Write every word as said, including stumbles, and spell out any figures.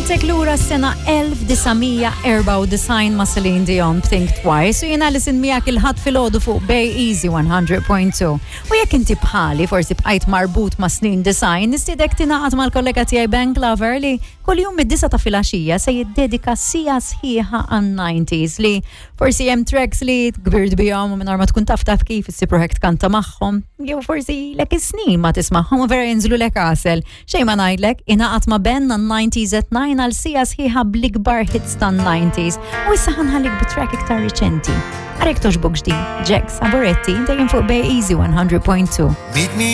Ħadtek lura s-sena elf disa' mija erbgħa u disgħin ma' Celine Dion, Think Twice, u jiena Alison miegħek il-Ħadd filgħodu fuq Bay Easy one hundred point two. U jekk inti bħali forsi bqajt marbut ma' snin disgħin, nistiednek tingħaqad mal-kollega tiegħi Ben Glover li kuljum mid-disgħa ta' filgħaxija se jiddedika siegħa sħiħa għan-nineties li forsi hemm tracks li kbirt bihom u mingħajr ma tkun taf taf kif issib ruħek tkanta magħhom, jew forsi ilek is-snin ma tismagħhom u vera jinżlulek għasel. Xejn ma ngħidlek, ingħaqad ma' Ben għan-nineties at nine għal siegħa sħiħa bl-ikbar hits tan-nineties. U issa ħa nħallik bi track iktar riċenti. Għarek toġbok ġdid, Jack Saboretti, dejjem fuq Bay Easy one hundred point two. Meet me